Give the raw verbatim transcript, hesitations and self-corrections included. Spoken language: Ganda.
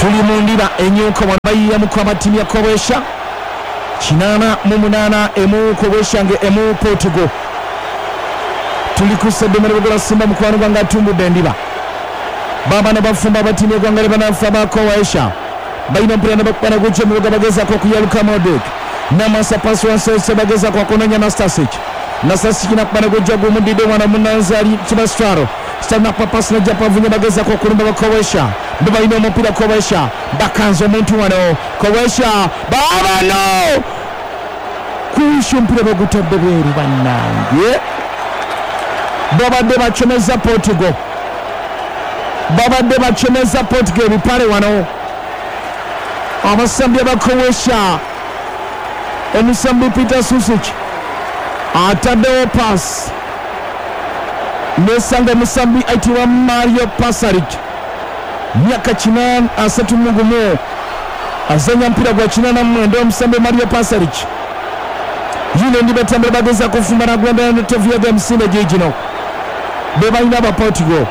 Tuli mu ndiba enyuka wano bayiyamuku abattiimu ya Croatia kinaana mu munaana emu Croatia nga emu Portugal. Tuli ku Seddomero Bugola Simba mukwano gwange atumbudde endiba. Baabano bafumba abattiimu y'eggwanga lye bannaffe aba Croatia balina omupiira ne bakuba ne gujja emibuga bagezaako okuyaluka Modric n'amasa pasi wansi bagezaako okunoonya Nastasic. Nastasic nakuba ne gujja gumudidde wano munanzali Kibastwaro Stanapa pasi najja pavunya bagezaako okulumba ba Croatia be balina omupiira. Croatia bakanze omuntu wano. Croatia baabano Croatia omupiira bagutadde bweru. Bannange, babadde bacomeza Portugal, babadde bacomeza Portugal ebipale wano abasambi aba Croatia. Omusambi Peter Susic ataddewo paasi nesanga omusambi ayitibwa Mario Pasalic, myaka kinaana asatu mu gumu, azanya mpira gwa kinaana mu mwenda. Omusambi Mario Pasalic yino ndi batambula bageza kufumba nagwenda netovuyaga emisinde gigino be balina aba Portugal.